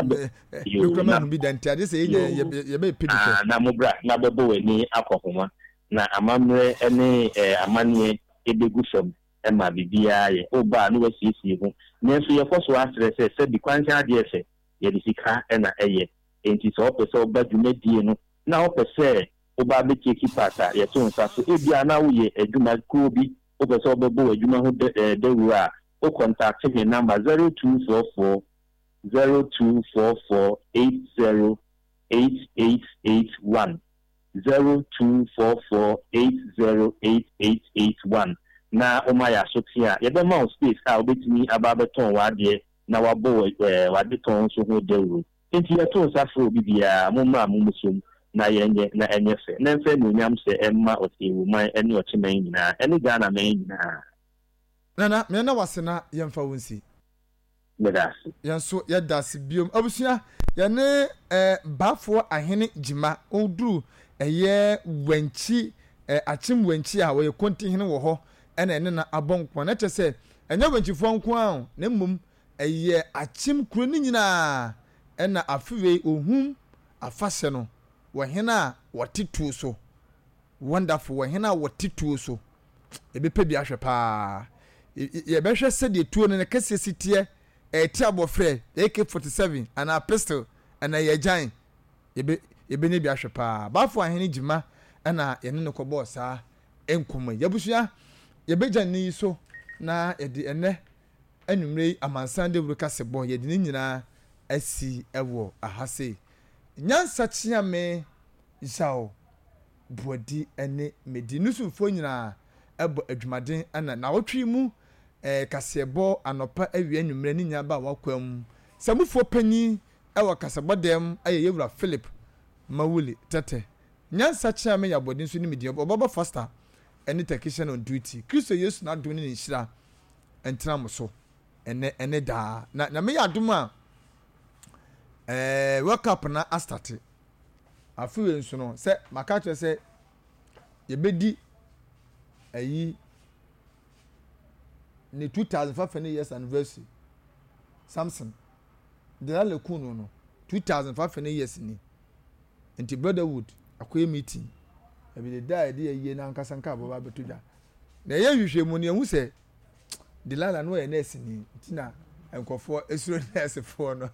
Mekura mahu bi da nti ade sɛ yɛnya yɛbɛpɛ bi hwɛ. Na mo bra na bɛbɔ w'ani akɔ homa na amammerɛ ne amanneɛ ɛbɛgu fam ma biribiara yɛ. Woba a na woasiesie ho. Nanso yɛkɔ so ara srɛ sɛ sɛbi kwankyɛn adeɛ fɛ, yɛde sika na ɛyɛ. Enti sɛ wopɛ sɛ woba dwumadie no na wopɛ sɛ woba abɛtake part a, yɛto nsa so. Ebia na woyɛ adwuma kuo bi, wopɛ sɛ wobɛbɔ w'adwuma ho dawuro a, wo kɔntakte me number 0244 0244 80 8881. 0244808881 na woma yɛ aso te a, yɛbɛma wo space a wobɛtumi aba abɛtɔn w'adeɛ na wabɔ w'adetɔn nso ho dawuro. Enti yɛto nsa frɛ obi biara, mommra mommusom na yɛnyɛ na ɛnyɛ fɛ na ɛmfa anuonyam hyɛ mma Ɔteawuman ne Ɔkyeman nyinaa ɛne Ghana man nyinaa. Nana, meɛna wase na yɛmfa wo nsi. Meda ase. Yɛn nso yɛda ase biom. Abusua, yɛne eh, Baafoɔ Ahene Gyima, ɔduru ɛyɛ Wankyi, eh, Akyem Wankyi a wɔyɛ Kontihene wɔ hɔ, ɛna ɛne no abɔ nko. Na kyerɛ sɛ, ɛnyɛ Wankyifoɔ nko ara o, na mmom ɛyɛ Akyem kuro no nyinaa ɛna afe wei ohum afahyɛ no wɔ hene a wɔte tuo so. Wonderful, wɔ hene a wɔte tuo so. Yɛbɛpɛ bi ahwɛ paa. Yɛbɛhwɛ sɛdeɛ tuo no ne kɛseɛ si teɛ, ɛte abɔfrɛ, AK-47 anaa pistol anaa ɛyɛ agyan. Yɛbɛ yɛbɛnya bi ahwɛ paa. Baafo Ahene Gyima ɛna yɛne no kɔbɔɔ saa nkɔmmɔ yi. Abusua, yɛbɛgya nne yi so na yɛde ɛnɛ anwummerɛ yi amansan dawuro kasebɔ yɛde ne nyinaa asi ɛwɔ aha sei. Nyansa kyeame Yaw Boadi ne Medi no somfoɔ nyinaa bɔ adwumaden na naawɔtwe yi mu kaseɛbɔ anɔpa, awia, anwummerɛ ne nyinaa ba w'akwaa mu. Samufoɔ panin wɔ kasabɔ dɛm yɛ Yɛwura Philip Mawuli Tɛtɛ. Nyansa Kyeame Yaw Boadi nso ne me din. Ɔbaba Foster ne technician on duty. Kristo Yesu n'adom ne ne nhyira ntena mo so ɛnɛ ne daa. Na Nyame yɛ adom a, World Cup na astate. Afe wei nso no, sɛ maka kyerɛ sɛ yɛbɛdi ayi ne 2005 years anniversary Samson Delilah kun no no 2005 years ni nti brotherhood akɔyɛ meeting ebi de da a yɛde ayie no ankasa nka abɔba abɛto dwa na ɛyɛ nhwehwɛmu no yɛhu sɛ Delilah no ɔyɛ nurse ni nti na nkurɔfoɔ esuro nursefoɔ no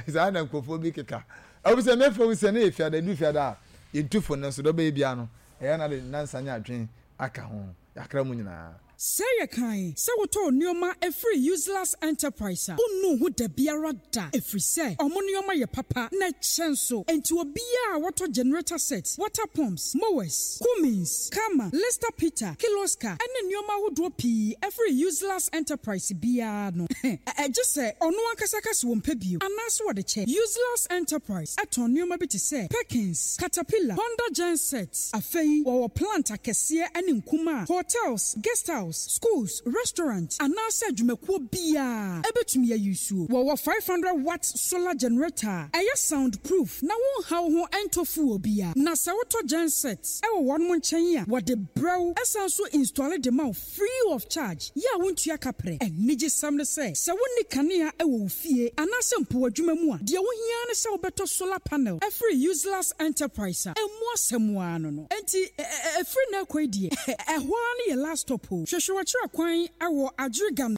saa na nkurɔfoɔ bi keka ɛwɔ sɛ mɛfɛ wo sɛ ne yɛ fiada edu fiada a yɛntu fo no nso dɛ ɔbɛyɛ biara no ɛyɛ na de nansa nyɛ adwene aka ho yɛakra mu nyinaa. Sɛ yɛ kan sɛ wotɔɔ nnoɔma firi Useless Enterprise a, wonnuu ho dabiara da ɛfiri sɛ wɔn nnoɔma yɛ papa na ɛkyɛ nso. Enti obiara a wɔtɔ generator set, water pumps, mowers, Cummins, Karma, Lister Peter, Kirloskar ne nnoɔma ahodoɔ pii firi Useless Enterprise biara no, gye sɛ ɔno ankasa ka sɛ ɔmpɛ bio anaasɛ ɔde kyɛ. Useless Enterprise tɔn nnoɔma bi te sɛ Perkins, Caterpillar, Honda Genset. Afei wɔwɔ plant akɛseɛ ne nkumaa, hotels, guest house, schools, restaurant anaasɛ adwumakuo biara bɛtumi ayi nsuo. Wɔwɔ 500 watt solar generator a ɛyɛ sound proof na wonha wo ho ntɔ fuel biara. Na sɛ wotɔ genset wɔ wɔnom nkyɛn a, wɔde brɛ wo san nso installe de ma wo free of charge yɛ a wontua kaprɛ. Anigyesɛm ne sɛ, sɛ wonni kanea wɔ wo fie anaasɛ mpo w'adwuma mu a, deɛ wohia ara ne sɛ wobɛtɔ solar panel afiri Useless Enterprise a ɛmmu asɛm ara no no. Enti ɛfiri nnɛ rekɔ yi deɛ, ɛhɔ ara ne yɛ last stop o. Hwehwɛ w'akyira kwan wɔ Adjiriganor.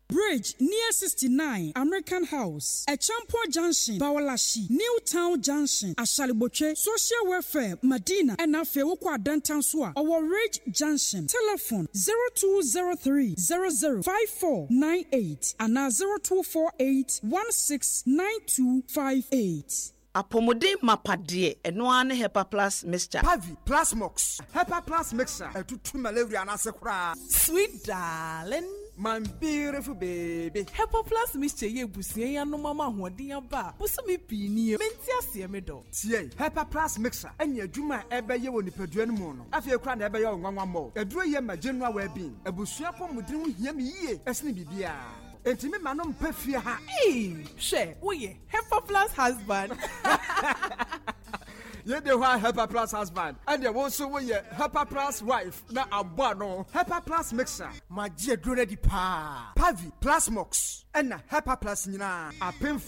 Bridge near 69 American House, Acheampong Junction, Bawalashie, New Town Junction, Ashaley-Botwe, Social Welfare, Madina, ɛna afei wokɔ Adenta nso a, ɔwɔ Ridge Junction. Telephone, 0203 00 5498 anaa 0248 169258. Apɔmuden mapa deɛ, ɛno ara ne Hepa Plus Mixture. Pavi, Plasmox, Hepa Plus Mixture, ɛtutu malaria no ase koraa. Sweet darling. My beautiful baby. Hepa Plus Mixture yi abusua yi anom ama ahoɔden aba a bosome pii nie. Mente aseɛ me dɔ. Tie, Hepa Plus Mixture ɛne adwuma a ɛbɛyɛ wɔ nipadua no mu no, afei koraa na ɛbɛyɛ wo nwanwa mmɔ. Aduro yi ma general well-being. Abusua apɔmuden ho hia me yie ɛsene biribiara. Enti me ma no mpa fie ha. Eii, hwɛ, woyɛ Hepa Plus husband. Yɛde hɔ a Hepa Plus husband, ɛdeɛ wo nso woyɛ Hepa Plus wife na abɔ ano. Hepa Plus mixer. Magye aduro no adi paa. Pavi, Plasmox, ɛna Hepa Plus nyinaa. Apemfo.